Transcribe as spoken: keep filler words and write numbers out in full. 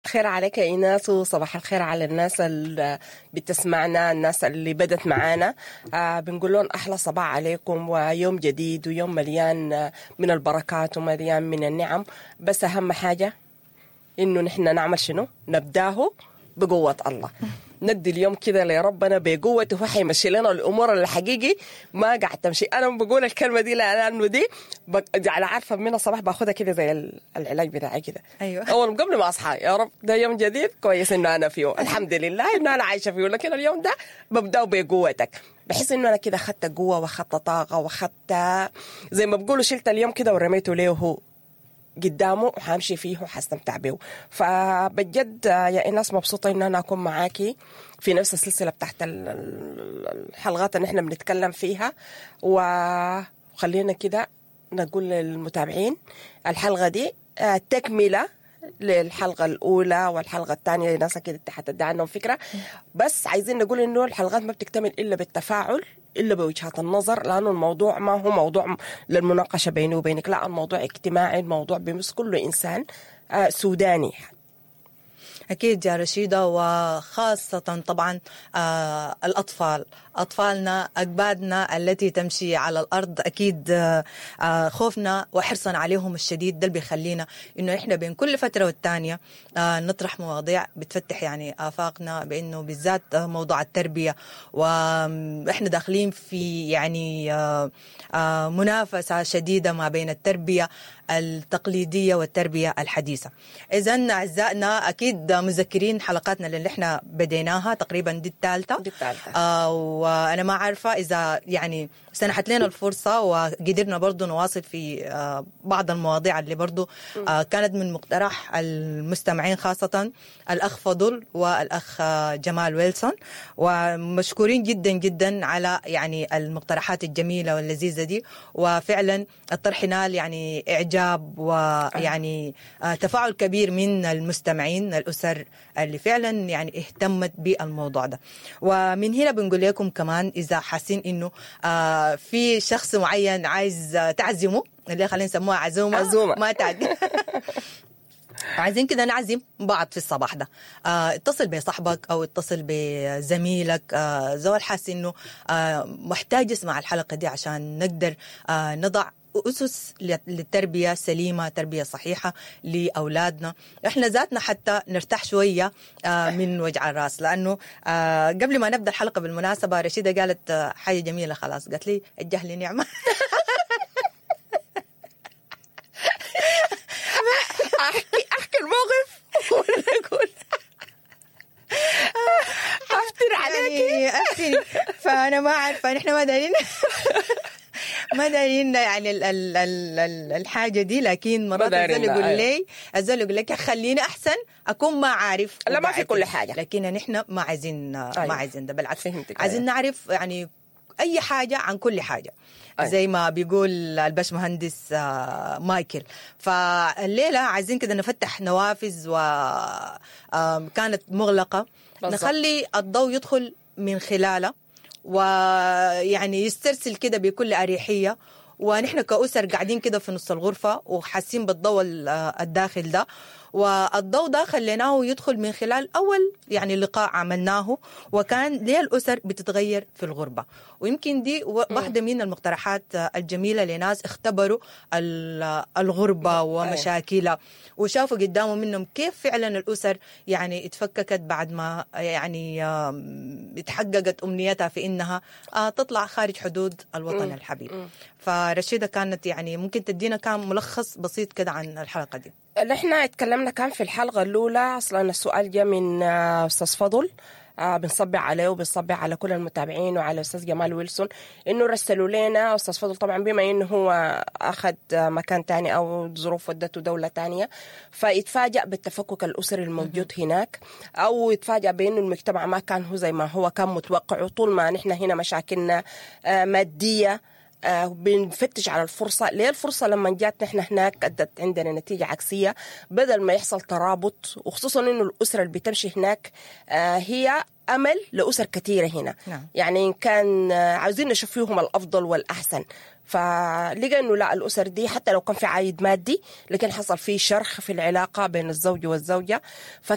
الخير عليك يا ايناس، وصباح الخير على الناس اللي بتسمعنا، الناس اللي بدت معانا. آه بنقول لهم احلى صباح عليكم، ويوم جديد ويوم مليان من البركات ومليان من النعم. بس اهم حاجة انه نحن نعمل شنو؟ نبداه بقوة الله. ندي اليوم كده لربنا بقوته، هو حيمشي لنا الامور اللي حقيقي ما قاعد تمشي. انا بقول الكلمة دي لانه دي بق... على عارفه من الصباح باخدها كده زي ال- العلاج بتاعي كده. أيوة. اول قبل ما اصحى، يا رب ده يوم جديد كويس انه انا فيه، الحمد لله انه انا عايشه فيه، لكن اليوم ده ببداه بقوتك. بحس انه انا كده اخدت قوة واخدت طاقة واخدت زي ما بقولوا شلت اليوم كده ورميته ليه هو قدامه، وحامشي فيه وحستمتع به. فبجد يا ايناس مبسوطة ان انا اكون معاكي في نفس السلسلة بتاعت ال- ال- الحلقات اللي احنا بنتكلم فيها. وخلينا كده نقول للمتابعين الحلقة دي آه، تكمله للحلقة الأولى والحلقة الثانية، لناس كده حتدي عنهم فكرة. بس عايزين نقول إنه الحلقات ما بتكتمل إلا بالتفاعل، إلا بوجهات النظر، لأنه الموضوع ما هو موضوع للمناقشة بيني وبينك، لا، الموضوع اجتماعي، الموضوع بيمس كل إنسان آه، سوداني. أكيد يا رشيدة، وخاصة طبعا آه الأطفال، أطفالنا، أكبادنا التي تمشي على الأرض. أكيد آه آه خوفنا وحرصنا عليهم الشديد ده اللي بيخلينا إنه إحنا بين كل فترة والتانية آه نطرح مواضيع بتفتح يعني آفاقنا، بإنه بالذات آه، موضوع التربية، وإحنا داخلين في يعني آه آه منافسة شديدة ما بين التربية التقليدية والتربية الحديثة. إذا أعزائنا أكيد مذكرين حلقاتنا اللي احنا بديناها تقريبا دي الثالثة. دي الثالثة. آه وأنا ما عارفة إذا يعني سنحت لنا الفرصة وقدرنا برضو نواصل في آه بعض المواضيع اللي برضو آه كانت من مقترح المستمعين، خاصة الأخ فضل والأخ آه، جمال ويلسون، ومشكورين جدا جدا على يعني المقترحات الجميلة واللذيذة دي. وفعلا الطرح نال يعني إعجاب ويعني آه، تفاعل كبير من المستمعين، الأسر اللي فعلا يعني اهتمت بالموضوع ده. ومن هنا بنقول لكم كمان إذا حاسين إنه آه، في شخص معين عايز آه، تعزمه، اللي خلينا نسموها عزومة، عزومة. ما تعدي، عايزين كده نعزم بعض في الصباح ده، آه اتصل بصاحبك او اتصل بزميلك، آه زول حاسس انه آه محتاج يسمع الحلقة دي عشان نقدر آه نضع أسس للتربية سليمة، تربية صحيحة لأولادنا، إحنا ذاتنا حتى نرتاح شوية آه، من وجع الراس. لأنه آه، قبل ما نبدأ الحلقة بالمناسبة رشيدة قالت آه، حاجة جميلة خلاص، قالت لي الجهل نعمة. أحكي أحكي الموقف ولا أقول أفتر عليكي؟ يعني أفتري، فأنا ما عارفة، نحن ما دارين ما دارين يعني ال ال ال ال الحاجة دي، لكن مرات دارين، الزول يقول أيوة. لي الزول يقول لك خليني أحسن أكون ما عارف لا، ما في وقاعد. كل حاجة. لكن نحن ما عايزين ما أيوة. عايزين ده، بالعكس فهمتك، عايزين أيوة. نعرف يعني أي حاجة عن كل حاجة. أيوة. زي ما بيقول الباش مهندس آه، مايكل. فالليلة عايزين كده نفتح نوافذ وكانت مغلقة، بالضبط. نخلي الضوء يدخل من خلالها ويعني يسترسل كده بكل أريحية، ونحن كأسر قاعدين كده في نص الغرفة وحاسين بالضوء ال- الداخل ده، والضوء ده خليناه يدخل من خلال أول يعني لقاء عملناه، وكان ليه الأسر بتتغير في الغربة. ويمكن دي و- واحدة من المقترحات الجميلة لناس اختبروا ال- الغربة ومشاكلها وشافوا قدامهم منهم كيف فعلا الأسر يعني اتفككت بعد ما يعني آم، اتحققت أمنيتها في إنها آه، تطلع خارج حدود الوطن الحبيب. فرشيدة كانت يعني ممكن تدينا كان ملخص بسيط كده عن الحلقة دي. اللي احنا اتكلمنا كان في الحلقة الأولى أصلا السؤال جاء من آه، أستاذ فضل، آه، بنصبح عليه وبنصبح على كل المتابعين وعلى أستاذ جمال ويلسون إنه رسلوا لنا. أستاذ فضل طبعا بما إنه هو أخذ آه، مكان تاني أو ظروف ودته دولة تانية، فيتفاجأ بالتفكك الأسري الموجود هناك، أو يتفاجأ بإنه المجتمع ما كان هو زي ما هو كان متوقع. وطول ما نحن هنا مشاكلنا آه، مادية، آه، بنفتش على الفرصة. ليه الفرصة لما جات نحن هناك أدت عندنا نتيجة عكسية، بدل ما يحصل ترابط، وخصوصا إنه الأسرة اللي بتمشي هناك آه، هي أمل لأسر كثيرة هنا. نعم. يعني إن كان آه، عاوزين نشوف فيهم الأفضل والأحسن، فلقى إنه لا، الأسر دي حتى لو كان في عائد مادي لكن حصل فيه شرخ في العلاقة بين الزوج والزوجة.